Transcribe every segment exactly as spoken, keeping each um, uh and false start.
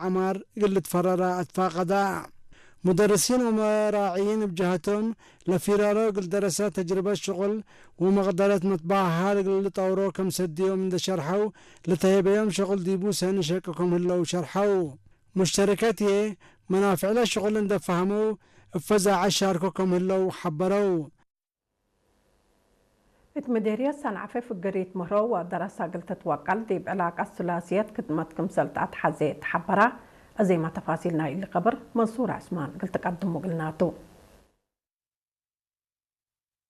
ዐማር እግል ልትፈረራ አትፋቀዳ። ሙደርሲን ወመራዕይን እብ ጀሀቶም፣ ለፊራሮ እግል ደረሰ ተጅርበት ሽቁል ወመቅደረት መትባህል እግል ልጠውሮ ከም ሰድዮም እንዴ ሸርሐው፣ ለተሄበዮም ሽቁል ዲቡ ሰኒ ሸቅኮም ህለው ሸርሐው። ሙሽተረከት ህዬ፣ መናፍዕለ ሽቁል እንዴ ፈሀመው፣ እብ ፈዛዐት ሻርኮ ከም ህለው ሐበረው። እት ምዴርየት ሰንዐፈ ፍግሪት ምህሮ ወደረሰ እግል ትትወቀል ዲብ ዕላቀት ሱላስየት ክድመት ክምሰል ተአትሐዜ እት ሐበረ፣ አዜመ ተፋሲል ናይ እሊ ከብር መንሱር ዐስማን እግል ትቀድሙ እግልናቱ።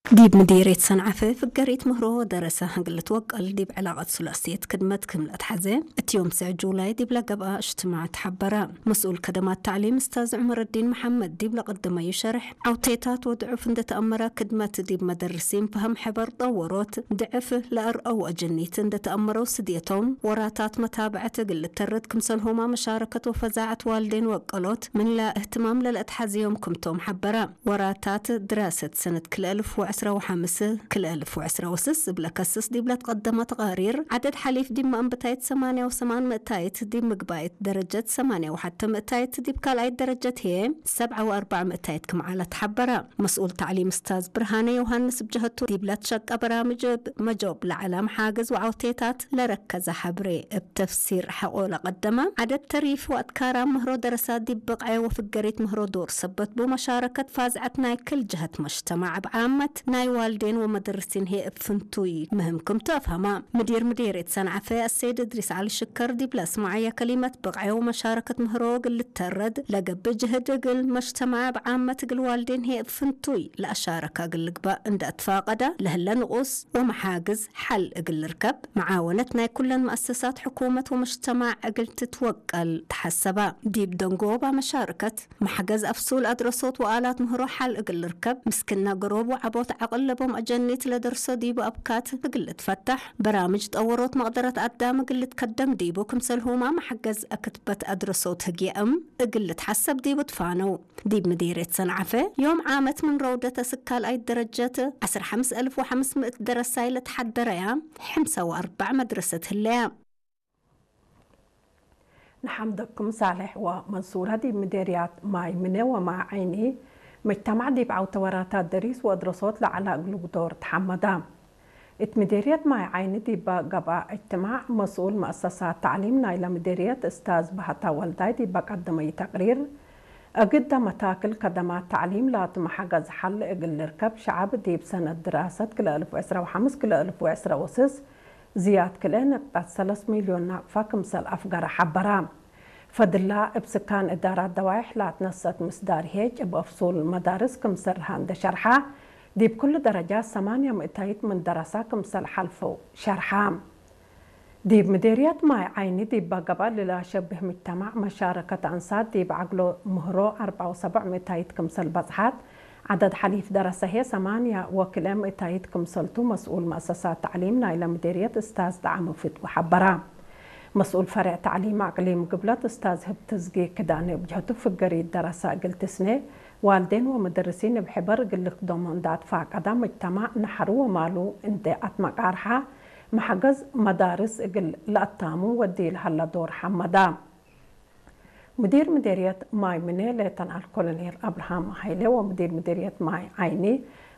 ዲብ ምዴርየት ሰንዐፈ ፍገሪት ምህሮ ወደረሰ እግል ልትወቀል ዲብ ዕላቀት ሱላስየት ክድመት ክም ለአትሐዜ፣ እት ዮም ሰዕ ጁላይ ዲብለ ገብአ እጅትማዕ ተሐበረ። መስኡል ከደማት ተዕሊም እስታዝ ዑመረዲን መሐመድ ዲብለ ቀደመዩ ሸርሕ፣ ዐውቴታት ወድዑፍ እንዴ ተአመረ ክድመት ዲብ መደርሲን ፈሀም ሕበር ጠወሮት፣ ድዕፍ ለአርአው አጀኒት እንዴ ተአመረው ስድየቶም ወራታት መታብዐት እግል ልተርድ ክምሰልሁመ መሻረከት ወፈዛዐት ዋልዴን ወቀሎት ምን ለእህትማም ለለአትሐዝዮም ክምቶም ሐበረ። ወራታት ድራሰት ሰነት ክልኤ እልፍ ወዕስራ ወሐምስ፣ ክልኤ እልፍ ወዕስራ ወስስ እብለ ከስስ ዲብለ ትቀደመ ተቃሪር፣ ዐደድ ሐሊፍ ዲብ መአንብታይት ሰማንያ ወሰማን ምእታይት፣ ዲብ ምግባይት ደረጀት ሰማንያ ወሐተ ምእታይት፣ ዲብ ካልኣይት ደረጀት ህዬ ሰብዓ ወአርበዕ ምእታይት ክም ዐለ ተሐበረ። መስኡል ተዕሊም እስታዝ ብርሃነ ዮሃንስ እብ ጀሀቱ፣ ዲብለ ትሸቀ በራምጅ እብ መጆብ ለዐለ መሓግዝ ወዐውቴታት ለረከዘ ሐብሬ እብ ተፍሲር ሐቆ ለቀደመ፣ ዐደድ ተሪፍ ወአትካራም ምህሮ ደረሰ ዲብ ብቅዐ ወፍገሪት ምህሮ ዶር ሰበት ቡ፣ መሻረከት ፋዝዐት ናይ ክል ጀሀት መጅተማዕ እብ ዓመት፣ ናይ ዋልዴን ወመደርሲን ህዬ እብ ፍንቱይ ምህም ክምቱ አፍሀመ። ምዲር ምዴርየት ሰንዐፈ አሰይድ እድሪስ ዐሊ ሽከር ዲብ ለአስመዐየ ከሊመት፣ ብቅዐ ወመሻረከት ምህሮ እግል ልተረድ ለገብእ ጅህድ እግል መጅተማዕ እብ ዓመት እግል ዋልዴን ህዬ እብ ፍንቱይ ለአሻረከ እግል ልግበእ እንዴ አትፋቀደ፣ ለህለ ንቁስ ወመሓግዝ ሐል እግል ልርከብ፣ መዓወነት ናይ ኩለን መአሰሳት ሕኩመት ወመጅተማዕ እግል ትትወቀል ተሐሰበ። ዲብ ደንጎበ መሻረከት፣ መሕገዝ አፍሱል አድረሶት ወአላት ምህሮ ሐል እግል ልርከብ፣ ምስክነ ገሮብ ወዐቦት ዐቅል ለቦም አጀኒት ለደርሶ ዲቡ አብካት እግል ልትፈተሕ፣ በራምጅ ጠወሮት መቅደረት አዳም እግል ልትከደም ዲቡ፣ ክምሰልሁመ መሕገዝ አክትበት አድረሶት ህግየ እም እግል ልትሐሰብ ዲቡ ትፋነው። ዲብ ምዴርየት ሰንዐፈ፣ ዮም ዓመት ምን ረውደት እስክ ካልኣይት ደረጀት፣ ዐስር ሐምስ እልፍ ወሐምስ ምእት ደረሳይ ለተሐደረያ፣ ሕምሰ ወአርበዕ መድረሰት ህለያ። ንሐምደኩም ሳልሕ ወመንሱረ ዲብ ምዴርያት ማይ ምኔ ወማይ ዐይኒ፣ መጅተማዕ ዲብ ዐውተ ወራታት ደሪስ ወአድረሶት ለዐለ እግሉ ዶር ተሐመዳ። እት ምዴርየት ማይ ዐይኒ ዲበ ገብአ እጅትማዕ፣ መስኡል መአሰሳት ተዕሊም ናይለ ምዴርየት እስታዝ በሀታ ወልዳይ ዲበ ቀደመዩ ተቅሪር፣ እግደ መታክል ከደማት ተዕሊም ላቱ መሐገዝ ሐል እግል ልርከብ፣ ሸዐብ ዲብ ሰነት ድራሰት ክልኤ እልፍ ወዕስራ ወሐምስ ክልኤ እልፍ ወዕስራ ወስስ ዝያድ ክልኤ ነቅጠት ሰለስ ሚልዮን ናቅፋ ክምሰል አፍገረ ሐበረ። ፈድላ እብ ስካን እዳራት ደዋይሕ ላትነሰት ምስዳር ሄጭ እብ አፍሱል መዳርስ ክምሰል ረሃ እንዴ ሸርሐ፣ ዲብ ኩሉ ደረጃት ሰማንያ ምእታይት ምን ደረሳ ክምሰል ሐልፈው ሸርሐ። ዲብ ምዴርየት ማይ ዐይኒ ዲበ ገብአ ለለአሸብህ ምጅተማዕ መሻረከት አንሳት ዲብ ዐግሎ ምህሮ አርበዕ ወሰቡዕ ምእታይት ክምሰል በጽሐት፣ ዐደድ ሐሊፍ ደረሰ ህዬ ሰማንያ ወክልኤ ምእታይት ክምሰልቱ መስኡል መአሰሳት ተዕሊም ናይለ ምዴርየት እስታዝ ደዓሙ ፍትዊ ሐበረ። መስኡል ፈሬዕ ተዕሊም አቅሊም ግብለት እስታዝ ህብትዝጊ ክዳኔ እብ ጀህቱ፣ ፍገሪት ደረሰ እግል ትስኔ፣ ዋልዴን ወመደርሲን እብ ሕበር እግል ልክደሞ እንዴ አትፋቀዳ፣ መጅተማዕ ነሐሩ ወማሉ እንዴ አትመቃርሐ፣ መሐገዝ መዳርስ እግል ለአታሙ ወዲ ለሀለ ዶር ሐመዳ። ሙዲር ምዴርየት ማይ ምኔ ሌተናል ኮሎኔል አብርሃም ሀይሌ ወሙዲር ምዴርየት ማይ ዐይኒ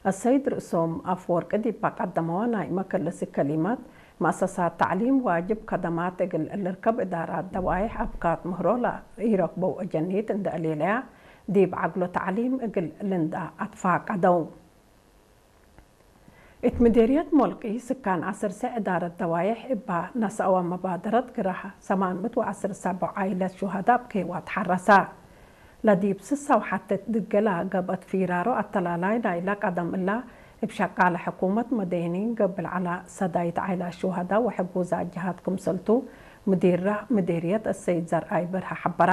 አሰይድ ርእሶም አፍወርቂ ዲብ ቀደመወ ናይ መከለሲ ከሊመት፣ መአሰሳት ተዕሊም ዋጅብ ከደማት እግል ልርከብ እዳራት ደዋይሕ አብካት ምህሮ ለኢረክበው አጀኒት እንዴ አሌለያ፣ ዲብ ዐግሎ ተዕሊም እግል ልንዳ አትፋቀደው። እት ምዴርየት ሞልቂ ስካን ዐስር ሰዕ እዳረት ደዋይሕ እባ ነስአወ መባደረት ግራህ ሰማን ምእት ወዐስር ሰቦ ዓይለት ሹሀዳ እብ ኬዋ ተሐረሰ። ለዲብ ስሳ ወሐቴት ድገላ ገብአት ፊራሮ አተላላይ ናይለ ቀደም እላ እብ ሸቃለ ሕኩመት መደይኒን ገብእ ለዐላ ሰዳይት ዓይላት ሹሀዳ ወሕጉዛት ጀሃት ክምሰልቱ ምዲራ ምዴርየት አሰይድ ዘርአይ በርሀ ሐበራ።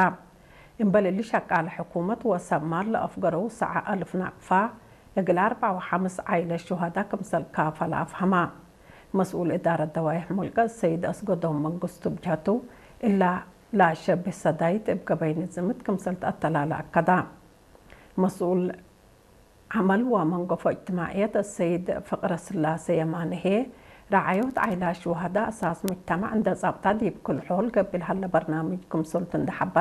እምበል እሊ ሸቃለ ሕኩመት ወሰብ ማል ለአፍገረው ሰዐ አልፍ ናቅፋ እግል አርበዕ ወሐምስ ዓይለት ሹሀዳ ክምሰል ካፈለ አፍሀማ። መስኡል እዳረት ደዋይሕ ሞልቀ ሰይድ አስገዶም መንግስቱ እብ ጀህቱ፣ እላ ለአሸብህ ሰዳይት እብ ገበይ ንዝምት ክምሰል ተአተላለ አከዳ። መስኡል ዐመል ወመንገፎ እጅትማዕየት አሰይድ ፍቅረስላሴ የማነ ህዬ፣ ረዓዮት ዓይላት ሹሀዳ አሳስ ሙጅተማዕ እንዴ ጸብጣ ዲብ ክል ሖል ገብእ ለሀለ በርናምጅ ክምሰልቱ እንዴ ሐበራ፣